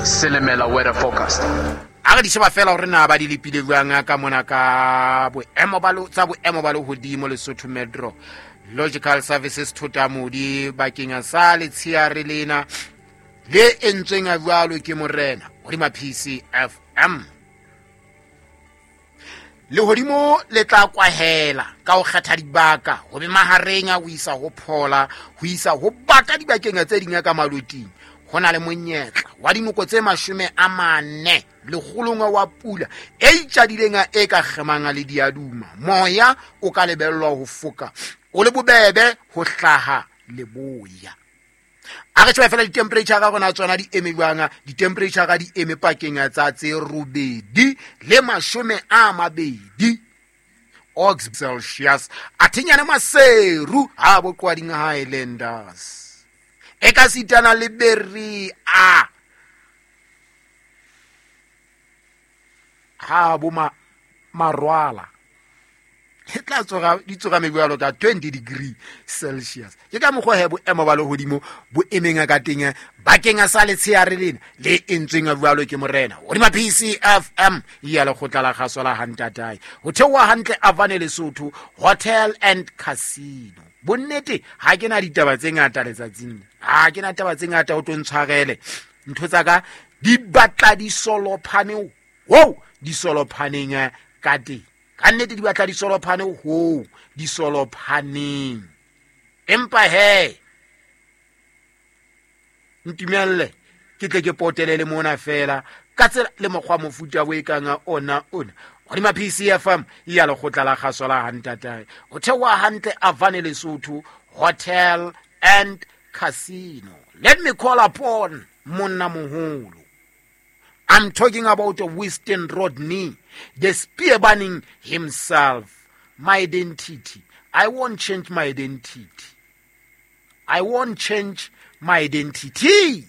Silimela weather forecast. A re di sheba fela gore na ba di lepile jwang ka mona ka boemo ba tsa boemo ba lehodimo. Lesotho Metro Logical Services Thotamodi bakeng sa letsheare lena le entsweng a jwalo ke morena hodima PCFM. Lehodimo le tla kwahela ka ho kgetha dibaka ho be mahareng a ho isa ho phola ho isa ho baka dibakeng tse ding ka maloting. Ho na le monyetla wa dinoko tse 40 lekgolong wa pula e itjadileng e ka kgemang le diaduma. Moya o ka lebellwa ho foka o le bobebe ho hlaha leboya. A re tjhebe fela di-temperature ka rona tsona di eme jwang. Di-temperature ka di eme pakeng tsa tse 8 le 20 ox Celsius. A thinyane Maseru ha boqwading Highlanders e ka sitana le Berry a ha bo marwala e tla tsoga di tsoga mebjalo ka 20 degree Celsius. Ke ka mokgwa he boemo ba lehodimo bo emeng ka teng bakeng sa letsheare lena le entsweng jwalo ke morena hodima PCFM ya lekgotla la kgaso la Hantatae. Ho theoha hantle Avane Lesotho Hotel and Casino. Bonnete ha ke na ditaba tse ngata letsatsing, ha ke na taba tse ngata ho tlo ntshwarele. Ntho tsa ka di batla di solophane ho di solophaneng ka teng. Ka nnete di batla di solophane ho di solophaneng. Empa he ntumelle ke tle ke potele le mona fela ka tsela le mokgwa mofuta bo e kang ona ona hodima PCFM ya lekgotla la kgaso la Hantatae. Ho theoha hantle Avane Lesotho Hotel and Casino. Let me call upon monna moholo. I'm talking about Winston Rodney, the spear burning himself. My identity. I won't change my identity. I won't change my identity.